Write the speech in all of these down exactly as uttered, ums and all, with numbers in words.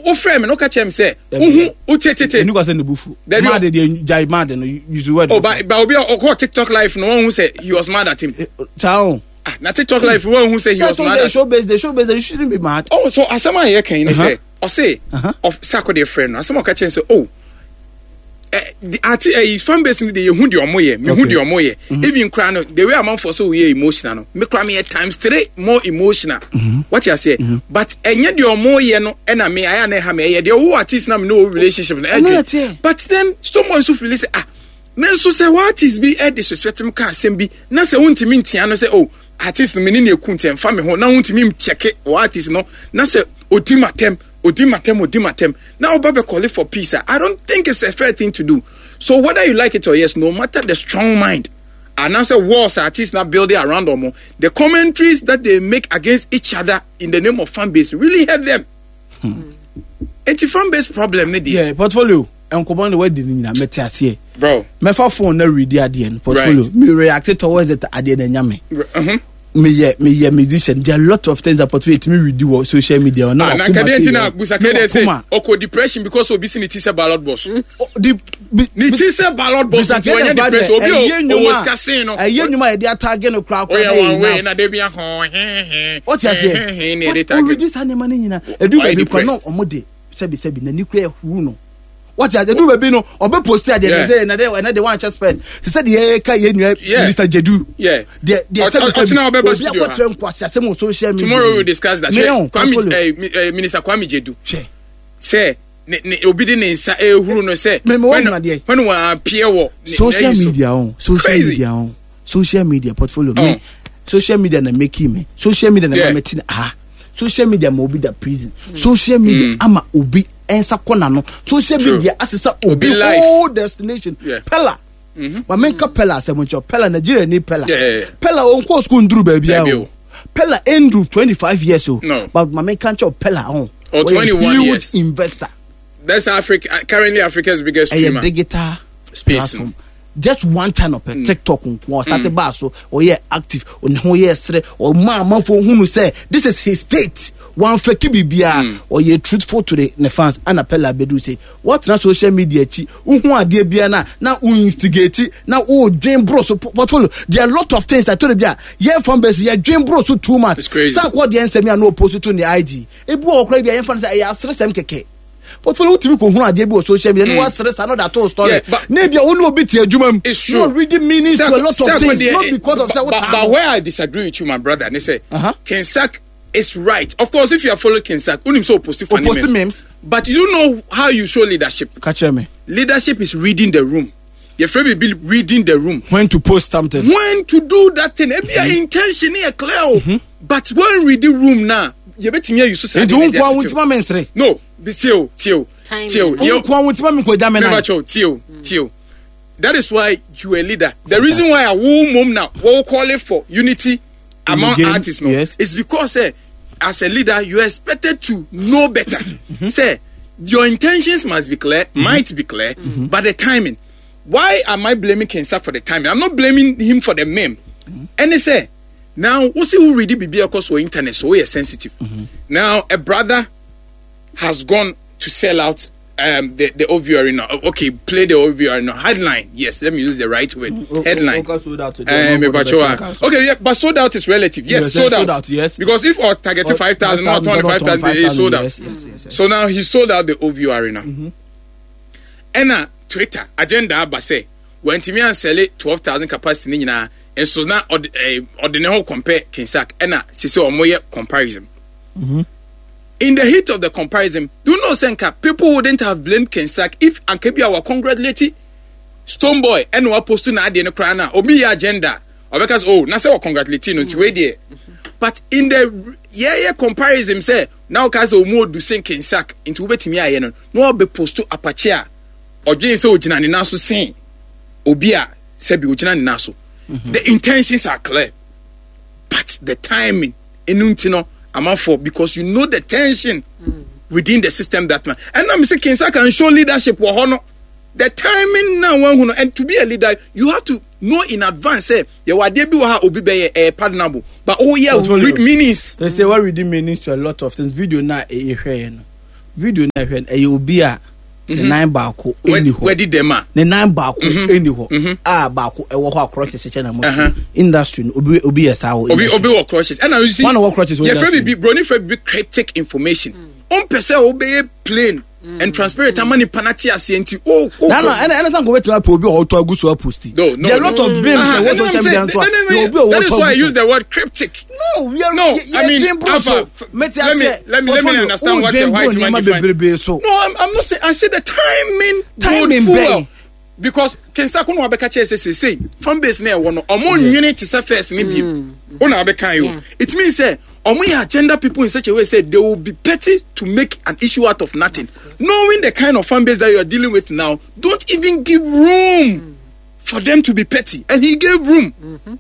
Wofrɛ me na woka kyerɛ me sɛ wohu wotetete. Ɛni kwa sɛ ne bu fu. Mad deɛ, gyae mad no, use word. Oh, ba ba obi a ɔkɔ TikTok Live no, wɔn hu sɛ he was mad at him. Saa o. Ah, na TikTok Live wɔn hu sɛ he was mad at. Show based, the show based, you shouldn't be mad. Oh, so asɛm a yɛ kan yi ni sɛ ɔse sɛ akɔ deɛ frɛ no, asɛm a ɔka kyerɛ sɛ, oh, ati ɛyi fan base ni de, yehu deɛ ɔmo yɛ, mehu deɛ ɔmo yɛ. Even kura no, the way amanfoɔ so yɛ emotional no, me kura me yɛ times three more emotional. Wɔte aseɛ? But ɛnyɛ deɛ ɔmo yɛ no ɛna me ayɛ na ɛha me, ɛyɛ deɛ ɔwɔ artist na me ne wɔ relationship no ɛdwe. But then Stonebwoy nso feel sɛ, ah, me nso sɛ wɔ artist bi ɛ disrespect m ka asɛm bi na sɛ wontumi ntia no sɛ, oh, artist no me ne ne eku ntiɛ nfa me ho, na wontumi nkyɛke wɔ artist no na sɛ odi ma tɛm, odi ma tɛm, odi ma tɛm na ɔba bɛ call for peace a, I don't think it's a fair thing to do. So whether you like it or yes, no matter the strong mind anaasɛ walls artists na building around them, the commentaries that they make against each other in the name of fan base really hurt them. hmm. Eti fan base problem ne deɛ. Yeah, Portfolio, nkɔmɔ na wadi ne nyinaa, mɛte aseɛ. Bro, mɛfa phone na read adeɛ no, Portfolio. Right. Me react towards it adeɛ na nya me. Uh-huh. Meyɛ meyɛ musician, there are a lot of things that Portfolio tumi read wɔ social media. Ah, na nkadeɛ nti na Busakede sɛ ɔkɔ depression because obi si ne ti sɛ ballot box. Di ne ti sɛ ballot box nti wɔnyɛ depression, obi o owó sika sen no. Ɛyɛ nnwuma a yɛde ataage no koraa koraa. Oyɛ wɔn wei na debi ahɔn hɛnhɛn. O ti aseɛ, ɔredi saa nneɛma no nyinaa, edu baabi kora na ɔmo de sɛbi sɛbi n'ani kura ehuru no. Wɔte ase, edu baabi no ɔbɛ post adeɛ ne sɛ ɛnɛ de ɛnɛ de wɔn ahyɛ spɛs te sɛ deɛ yɛka yɛ nua Minister Jedu. Deɛ deɛ sɛbi sɛbi obi akɔtwerɛ nkwasi asɛm wɔ social media. Tomorrow we will discuss that. Kwame eh, Minister Kwame Jedu sɛ ne ne obi de ne nsa ehuru no sɛ when wɔn appear wɔ social media o, social media o, social media, Portfolio, me social media na making me, social media na ma me ti ah, social media ma obi da prison, social media mm. ama obi nsa kɔ n'ano, social media asesa obi whole destination. Pella ma menka Pella asɛm nkyɛw. Pella, Nigeria ni Pella. Pella onkɔ school nduru baabi a o Pella nduru twenty five years o, but ma menka nkyɛw, Pella ho ɔyɛ huge years investor. That's Africa, currently Africa's biggest streamer. Ɛyɛ digital space platform, just one channel pɛ mm. TikTok nko ɔsate mm. baa so, ɔyɛ active, ɔne ho yɛ serɛ, ɔma amanfo hunu sɛ this is his state, wɔnfɛki biribiara, ɔyɛ truthful to the ne fans. Ana Pella abedu sɛ wɔtena social media akyi, wohu adeɛ biara na na wo instigate na wodwen boro so. Portfolio, there are a lot of things I told you a yɛn fan base yɛdwen boro so too much. Sɛ akɔ deɛ nsɛm yi a na ɔpost to ne I G, ebi wɔ ɔkora bi a yɛmfa no sɛ ɛyɛ aseresɛm kɛkɛ. Portfolio, wotumi kɔ hunu adeɛ bi wɔ social media ne wasere saa na ɔde ato story na ebi a wo ne obi te adwuma mu na reading meanings to a lot of things, not because of sɛ wotaa. But where I disagree with you, my brother, ne sɛ uh-huh. King Sack is right. Of course, if you have followed King Sack, unim so post funny memes. Memes. But you know how you show leadership. Catch me. Leadership is reading the room. Your friend will be reading the room. When to post something. When to do that thing. Ebi mm-hmm. intention is clear. Mm-hmm. But when read the room now, you bet me you so say. Nti wo nkoa wo ntima me nsere. No, be still, till, till. Wo nkoa wo ntima me ko da me na. Till, till. That is why you are a leader. The reason why I will mom now, will call it for unity among game, artists, no, yes. It's because eh, as a leader, you are expected to know better. Mm-hmm. Say, your intentions must be clear, mm-hmm. might be clear, mm-hmm. but the timing. Why am I blaming King Sack for the timing? I'm not blaming him for the meme. Mm-hmm. And he say, now, we see who really be across the internet, so we are sensitive. Mm-hmm. Now, a brother has gone to sell out um, the the O V Arena. Okay, play the O V Arena headline. Yes, let me use the right word. Mm, headline. Sold out. Um, okay, yeah, but sold out is relative. Yes, yes, sold, out. Sold out. Yes, because if or targeted five thousand, not twenty five thousand, he sold out. Yes, yes, yes, So now he sold out the O V Arena. Mm-hmm. Ɛna Twitter agenda aba sɛ wɔntumi ansell twelve thousand capacity ne nyinaa nso na ɔde ɛɛ ɔde ne ho compare King Sack, ɛna sisi ɔmo yɛ comparison. Mm-hmm. In the heat of the comparison, do you know sɛ nka people wouldn't have blamed King Sack if anka bi a wa congratulate Stonebwoy ɛna wa post na adeɛ no koraa na obi yɛ agenda ɔbɛka sɛ, oh, na sɛ wɔ congratulate no nti wei deɛ. But in the yɛyɛ comparison sɛ na ɔka sɛ ɔmu odu sen King Sack nti wobɛtumi ayɛ no na ɔbɛ post apakye a ɔdwen sɛ ogyina ne nan so sen obi a sɛbi ogyina ne nan so. The intentions are clear, but the timing ɛnu nti no amanfoɔ, because you know the tension mm. within the system that man, ɛna mi sɛ King Sack can show leadership wɔ hɔ no, the timing now wɔn hu no. And to be a leader, you have to know in advance sɛ yɛwɔ adeɛ bi wɔ ha obi bɛyɛ ɛyɛ pardonable, but oh yeah, read meanings. They say what reading meanings to a lot of things. Video na ehwɛ yɛ no, Video na hwɛ ɛyɛ obi a ne nan baako ɛni hɔ. Wadi dɛm a. Ne nan baako ɛni hɔ. A baako ɛwɔ hɔ a crutches kyɛ na mo. Industry no obi obi yɛ saa wɔ. Obi obi wɔ crutches. Ɛna you see. One wɔ crutches wɔ industry. Yɛfrɛ bibi broni frɛ bibi cryptic information. Ompɛ sɛ obɛyɛ plain and transparent ama nipa na te aseɛ nti o o. Na na ɛna ɛna sanko bɛtumi apɛ obi a ɔtɔ agu so aposti. No no. There are a lot of memes ɛwɔ social media nso a na obi a ɔtɔ agu so. That is why I use the word cryptic. No, we are no. I mean, Alpha, let me let me let me understand what your white man define. So. No, I'm, I'm not saying. I said the timing. Timing bɛn. Because Kensa kono abɛka kyerɛ sɛ sɛ fan base na ɛwɔ no ɔmo nwene te sɛ first ne bi o na abɛka yi o. It means sɛ ɔmo yɛ agenda people in such a way say they will be petty to make an issue out of nothing. Knowing the kind of fan base that you are dealing with now, don't even give room mm. for them to be petty. And he gave room. Mm-hmm.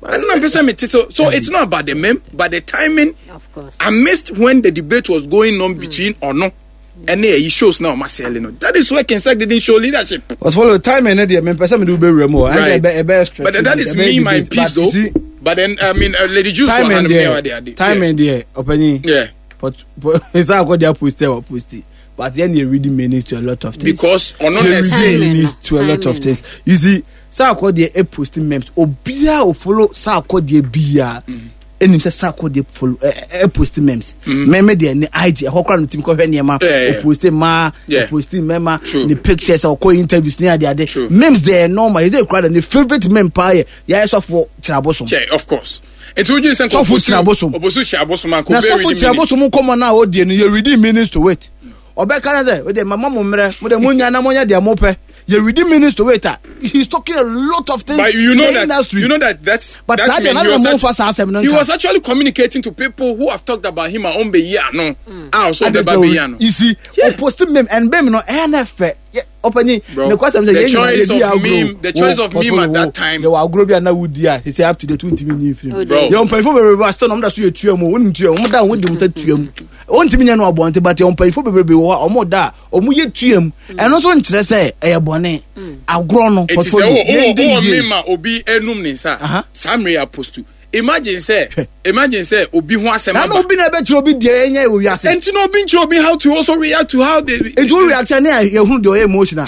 And I'm so so it's not about the meme, but the timing. Of course. I missed when the debate was going on between mm. or no. And he shows now Marcelino. That is where Kensak didn't show leadership. But follow timing, eh? Me person me do be remo. Right. But that is me, my piece though. See, but then I mean, uh, Lady Juice. Timing there. Timing there. Opening. Yeah. But but it's not what they are posted or posted. But then you really meanings to a lot of things. Because on really meanings to a lot of things. You see, Sarkodie e posting memes. Obia o follow Sarkodie bia. Enim sɛ Sarkodie follow e post memes. Meme de ne I G ɛhɔ kora no tim kɔhwɛ nneɛma. O post ma, o post mema, ne pictures ɔkɔ interviews ne ade ade. Memes de normal. Is it kora ne favorite meme pa ye. Ya esofo kyerɛbosom. Che, of course. Nti wogye sɛ sɔfo kyerɛbosom. Obosu kyerɛbosom anko be reading. Na sɔfo kyerɛbosom nkɔmɔ na o die no ye reading meanings to it. Ɔbɛka na sɛ, o de mama mo mmerɛ, mo de mo nya na mo nya de mo pɛ. You read minutes to wait. He's talking a lot of things. But you know in the that industry. You know that that's but that mean, he, was actually, he was actually communicating to people who have talked about him on be no. Ah, also the baby no. You see, yeah. Posting meme and meme no N F. Opening the choice of meme, the choice of meme at that time. You are growing na would ya. He say up to the twenty million frame. Bro, you pay for be still no da so yetua mu. Won tua mu da won di mu tua mu. Won timi nya no abonte but you pay for be be wo omo da omo ye tua mu. Eno so nkyere sɛ ɛyɛ bɔne. Agro no portfolio. It is o o meme ma obi enum ne nsa. Samri apostu. Imagine say, imagine say, obi ho asem aba. Na obi na be obi de enye e wiase. Enti no obi nkyere obi how to also react to how they. Enti reaction na ye hunu de oye emotional.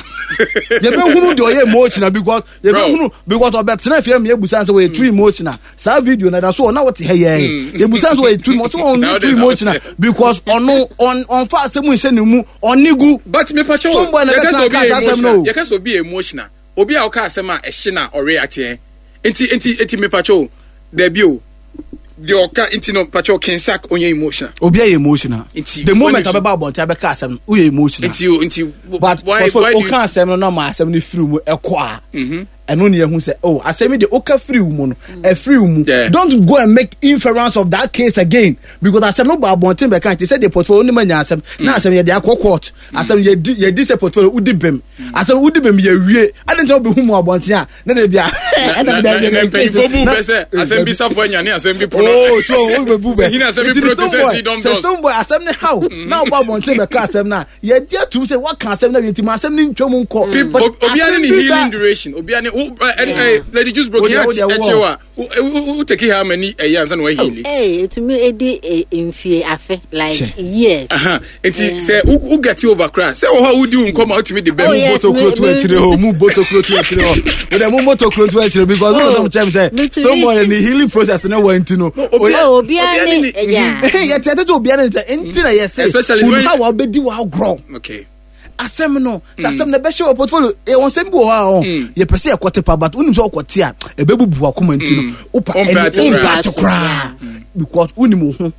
Ye be hunu de oye emotional because ye be hunu because obetena fie me ebusan say we too emotional. Sa video na da so na what he ye. Ye busan say we too emotional, so too emotional because ono on on fa asem nhye ne mu onigu. But me pacho, ye ka so obi emotional. Ye ka so obi emotional. Obi a o ka asem a ehye na o react eh. Enti enti enti me pacho debut the oka inti no pacho Kensak onye emotional. Obi e emotional. Inti, the moment abeba abonte abeka asem wo emotional. Inti inti but why why o kan asem no na ma asem no firi mu ekɔ a. Mhm. Eno ne yehu sɛ oh asem de oka firi mu no e firi mu. Don't go and make inference of that case again because asem no ba abonte be kan ti sɛ the portfolio ni ma nya asem na asem ye de akɔ court. Asem ye di ye di sɛ portfolio udi bem. Asem udi bem ye wie. Ade ntia obi hu mu abonte a na na bia. Na na mpanyinfo bu bɛ sɛ asem bi safo anya ne asem bi pono. Oh so o be bu bɛ. Hina asem bi pono te sɛ si dom dom. Sɛ Stonebwoy asem ne how na oba abonte be ka asem na ye di atum sɛ what kan asem na bi nti ma asem ne ntwam nkɔ. Obi ane ne healing duration. Obi ane Lady Juice broke here echewa. Who take how many a year and we heal? Hey, to me edi mfie afe like years. Uh-huh. Nti say who get you over cry. Say oh how do you come out to me the best. Moto kro to echire ho, mu boto kro to echire ho. We dem moto kro to echire because we don't tell say Stonebwoy the healing process no went no. Oh, obi ane yeah. Yeah, tete obi ane nti na yes. Especially when how obedi wa grow. Okay. Asem no, sɛ asem na bɛhyɛ wɔ portfolio e won sɛm bi wɔ hɔ a ɔ yɛ pɛ sɛ yɛkɔte pa but wonim sɛ wokɔte a ɛbɛbubu wakoma nti no wopa ɛne koraa because wonim wo ho.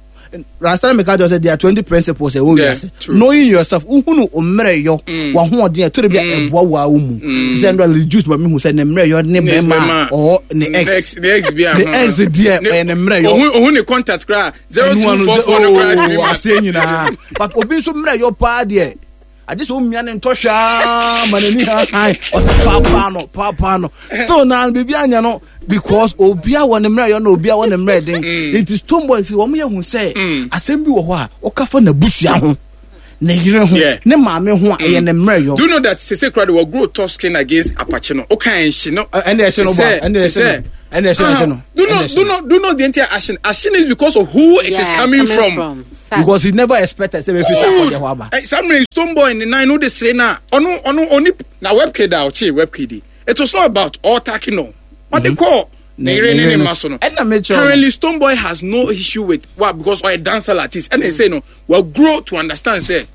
Last time I just said there are twenty principles ɛwɔ wiase. Knowing yourself, wohunu mmerɛ yɔ wahoɔden ɛtɔre bi a ɛboa wo a wo mu. Sɛ ndɔ reduce ma mehu sɛ ne mmerɛ yɔ ne bɛrima ɔwɔ ne ex ne ex bi a ne ex deɛ ɔyɛ ne mmerɛ yɔ. Ohun ohun ne contact koraa zero two four four no koraa ti mi ma. Aseɛ nyinaa but obi nso mmerɛ yɔ paa deɛ. I just want me and Tosha, man, or papa no, papa no. Still now, baby, I know because Obia one the no Obia one the then. It is Stonebwoy. See, one who say, assembly or what, or cafe na bush yaho. ne yere ho, Yeah. ne maame ho a ɛyɛ ne mmerɛ yɔ. Do you know that Sese Krado will grow tough skin against Apache no? Okay, and she no. Ɛnna ɛhyɛ no ba, ɛnna ɛhyɛ no, ɛnna ɛhyɛ no, ɛhyɛ no. Do not, do not, do not the entire action. Action is because of who it is Yeah, coming, from. Sad. Because he never expected sɛ bɛfi Good. Sarkodie hɔ aba. Eh, Samuel Stonebwoy in the nine no the say na ono ono oni na webkid a ochi webkid. It was not about all attacking no. On the call. Ne- Ne ne ne yere ne no maso no. ɛnna mekyerɛ wo no. Currently Stonebwoy has no issue with what because or a dancer artist and they say no, we grow to understand say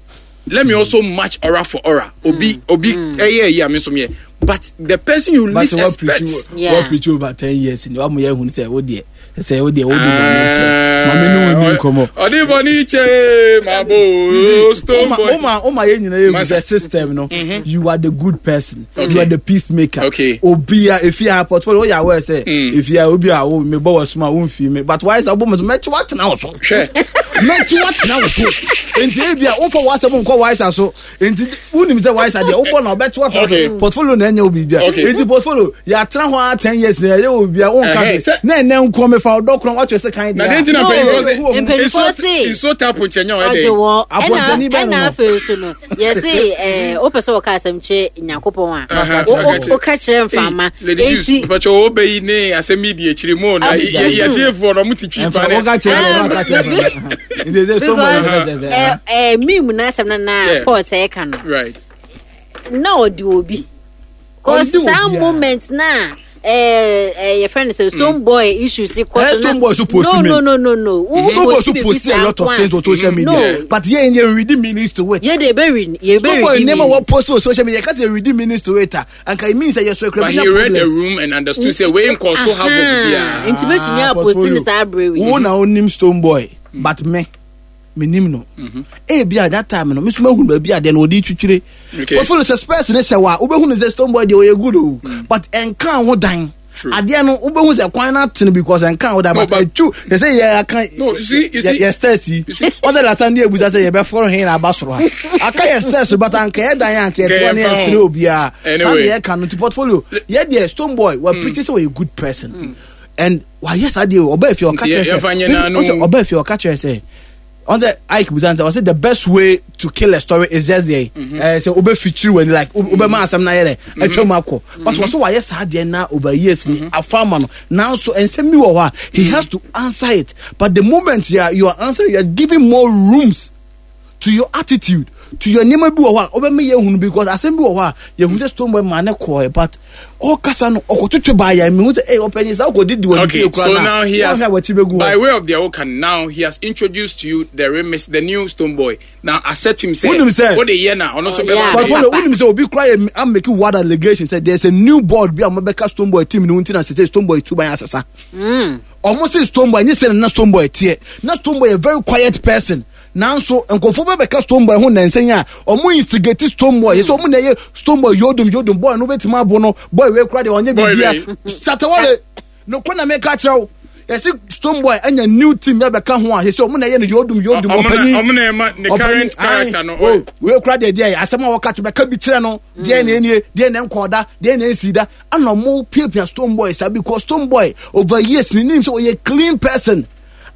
let me also match aura for aura. Obi obi eh yeah yeah me so me. But the person you But least what preach expect Yeah. what preach over ten years ni wa mo yɛ hun sɛ o deɛ sɛ o deɛ o di bɔ ne kyɛ maame ne wo ni nkɔmɔ. Ɔde bɔ ne kyɛ ma bo Stonebwoy. Oma oma yɛ nyina yɛ hu Masa. sɛ system no, you are the good person, Okay. you are the peacemaker. Okay. Obi a efi a portfolio o yɛ aware sɛ Mm. efi a obi a o mi bɔ wɔ suma o nfi mi, but why sɛ ɔbɔ mi so mɛkyi wa tena wo so. Hwɛ. Mɛkyi wa tena wo so, nti ebi a wofa w'asɛm nkɔ waisa so, nti wunim sɛ waisa deɛ wobɔ na ɔbɛkyi wa tena Okay. so. Portfolio na ɛnyɛ wo biribi a Okay. nti portfolio yɛatena hɔ a ten years na yɛyɛ wo biribi a wonka Ɛhɛn, bi sɛ- na ɛnɛ nkɔ mefa ɔdɔ korɔ watwɛ sɛ kan Na deɛ den ti na No, mpanyinfoɔ sɛ mpanyinfoɔ se- nsuo ta aponkyɛnyɛ ɔyɛ ɔgye dɛ. wɔ ɛna Abɔntani bɛn no ɛna no? afei so no yɛse ɛɛ wopɛ sɛ wɔka asɛm kyerɛ Nyankopɔn a Aha, wo- ɔka wo- kyerɛ- woka kyerɛ mfama. Hey, Lady Juice, enti mpatwa wo bɛ yi ne asɛm yi di akyiri mu na Ah, yɛtiefoɔ no ɔmo ti twi ɛmfa pa ne. wɔka kyerɛ deɛ wɔka kyerɛ mfa nti sɛ stone boy because wɔka kyerɛ sɛ ɛɛ ɛɛ meme na asɛm no na Yeah. Paul sɛ ɛka no Right. na ɔde obi cause Ɔde saa obi a. moment na ɛɛ ɛɛ yɛfrɛ no sɛ Stonebwoy issue si kɔ Eh, so na Stonebwoy so post no me. no no no no wo Stone boy post so biribi post a saa lot of nko a, things on social media, No. but yɛn yɛn read meanings to it. yɛ de ebe read yɛ ebe Stone boy read nneɛma wɔ post on social media kasi read meanings to it a anka it means sɛ yɛ so ekura But he read the room and understood say wei nkɔ so ha bɔ biara. nti betumi a post ne saa abere wo wi na onim Stonebwoy, but me menim no ebi a that time no mesoma hunu baabi a deɛ no ɔde twitwire. Okay. Portfolio sɛ spurs ne hyɛ wɔ a wobɛhu no sɛ Stonebwoy deɛ ɔyɛ good o, but ɛnka ho dan. True. Adeɛ no wobɛhu sɛ kwan no atene because ɛnka ho dan. No, But but- ɛtwu sɛ sɛ yɛ aka No, you see- you see- yɛ stairs yi you see- ɔsɛ last time ne yɛbusa sɛ yɛbɛforo he na aba soro ha aka yɛ stairs, but anka yɛ dan anka yɛtewa ne Nka yɛmfa yɛsere ho. obiara saa Anyway. ne yɛka no. Nti portfolio yɛ deɛ Stonebwoy wɔ preach sɛ wɔyɛ good person and wayɛ saa deɛ ɔbaa fie ɔka Nti kyerɛ yɛ- yɛmfa nyɛ sɛ n'ano. ɔsɛ ɔbaa fie ɔka kyerɛ sɛ ɔn sɛ Ike busa sɛ ɔsɛ the best way to kill a story is just there ɛɛ sɛ ɔbɛ feature wɔ ni like ɔbɛ ma asɛm na yɛ dɛ ɛtwa mu akɔ, but wɔsɛ wayɛ saa deɛ na over years ni afa ama no, nanso nsɛm bi wɔ hɔ a he has to answer it, but the moment you are you are answering, you are giving more rooms to your attitude, to your nneɛma bi wɔ hɔ a ɔbɛma yɛ hunu, because asɛm bi wɔ hɔ a yɛhu sɛ Stonebwoy maa ne kɔɛ, but ɔkasa no ɔkɔtwitwi baa yɛ mehu sɛ ɛy ɔpɛnyi sɛ ɔkɔdidi wɔ ne Okay, fie kura so na now he has, wɔn a wɔkyi bɛgu by hɔ way of the Okan, now he has introduced to you the remix, the new Stonebwoy. Now accept him say, Wonim sɛ- what the year now, ono so Oh, yeah. But follow, Papa. wonim sɛ obi kura yɛ am making word allegation sɛ there's a new board bi a wɔbɛka Stonebwoy team ne ho nti na sɛ Stonebwoy tu ban asesa. Ɔmo sɛ Stonebwoy nye sɛ na Stonebwoy teɛ na Stonebwoy yɛ very quiet person, nanso nkɔfo bɛ bɛka Stonebwoy ho nansɛn a ɔmo instigate Stonebwoy yɛ sɛ ɔmo na ɛyɛ Stonebwoy yodum yodum boy no bɛtumi abo no boy wei kura deɛ ɔnyɛ Boy biribiara. wei. Shatawale nokɔ na meka kyerɛ wo yɛsi Stonebwoy anya new team yɛ bɛka ho a yɛsɛ ɔmo na ɛyɛ no yodum yodum. Ɔmo na- ɔpanyin ɔmo na ɛma ne current character no, oh, wei kura deɛ deɛ asɛm a wɔka to bɛka bi kyerɛ no deɛ na enie deɛ na nkɔɔda deɛ na esi da ana ɔmo piapia Stonebwoy sa because Stonebwoy over years ne nim sɛ ɔyɛ clean person.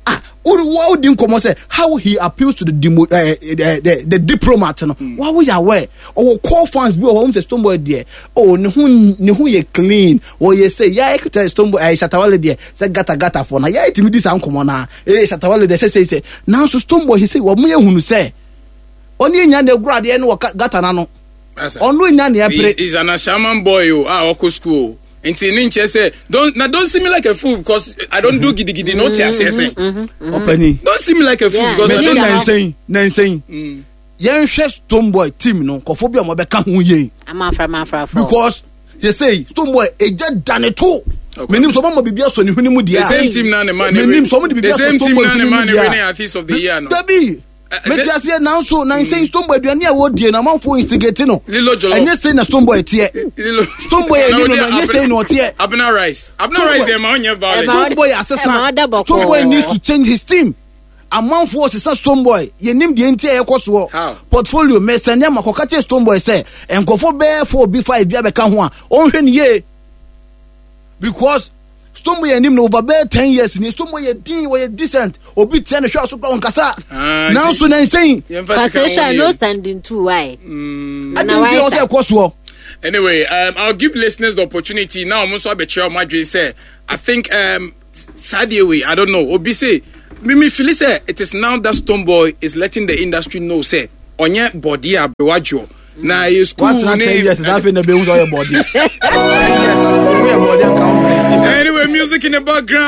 Ah, wodi wodi nkɔmɔ sɛ how he appeals to the demo uh, the, the the diplomat no mm. Wa woyɛ aware ɔwɔ core fans bi wɔ hɔ wɔn sɛ Stonebwoy deɛ oh ne ho ne ho yɛ clean ɔyɛ sɛ yɛ ekita Stonebwoy ɛyɛ Shatawale deɛ sɛ gata gata fo na yɛ etimi di saa nkɔmɔ na ee Shatawale deɛ sɛ sɛ sɛ nanso Stonebwoy sɛ wɔn yɛ hunu sɛ ɔne enya na egura adeɛ no wɔ ka- gata n'ano ɔno enya na ɛpere. He's an Ashaman boy o, ah, ɔkɔ school o. Nti ne nkyɛ sɛ don't na don't see me like a fool because I don't do gidigidi na o ti aseɛ sɛn. Ɔpɛni Don't see me like a fool Yeah. because I mɛsɛ don't. nansɛn nansɛn yɛnhwɛ Stonebwoy team no nkɔfo bi a wɔbɛka ho yie. Amafra amafra fo. Because yɛ sɛ Stonebwoy egya dane to Okay. menim sɛ ɔmama biribi asɔ ne hwene mu deɛ The a same team na ne man ne menim sɛ ɔmo de the biribi asɔ same team Stonebwoy na ne hwene man mu ne deɛ winning a artist of the year no. Dabi Eh, mete eh, aseɛ nanso nansɛn Stonebwoy aduane a wɔdie no amanfoɔ instigate no. Lilo jollof. Ɛnyɛ sei na Stonebwoy teɛ. Lilo. Stonebwoy yɛ ni no no ɛnyɛ sei na ɔteɛ. Abena rice. Abena Stonebwoy- rice dem ma ɔnyɛ violent. Ɛma- Stonebwoy Ɛma asesa. ɔda bɔkɔɔ. Stonebwoy needs to change his team. Amanfoɔ sesa Stonebwoy yɛnim deɛ nti a yɛkɔ soɔ. How? Portfolio mɛsɛn nneɛma kɔka kyerɛ Stonebwoy sɛ nkɔfo bɛɛ four bi five bi abɛka ho a ɔnhwɛ ne yie because Stonebwoy yɛ anim no over bɛyɛ ten years ni. Stonebwoy yɛ din, wɔyɛ decent, obi tia ne hwɛ aso kora ɔnkasa. Ah, Nanso na nsɛn yɛmfa sika Pastor ho no yɛ. standing two why? adi nti na ɔsɛ ɛkɔ soɔ. Anyway, um, I'll give listeners the opportunity now. I'm also abɛkyerɛ ɔmo adwene sɛ I think um, saa deɛ wei, I don't know, obi say me me feel sɛ it is now that Stonebwoy is letting the industry know sɛ ɔnyɛ bɔdeɛ aberewadwoɔ na ɛyɛ school Watena ten ne years saa, afei na bɛhu sɛ ɔyɛ bɔdeɛ, ɔyɛ bɔdeɛ nka wo. Anyway, music in the background.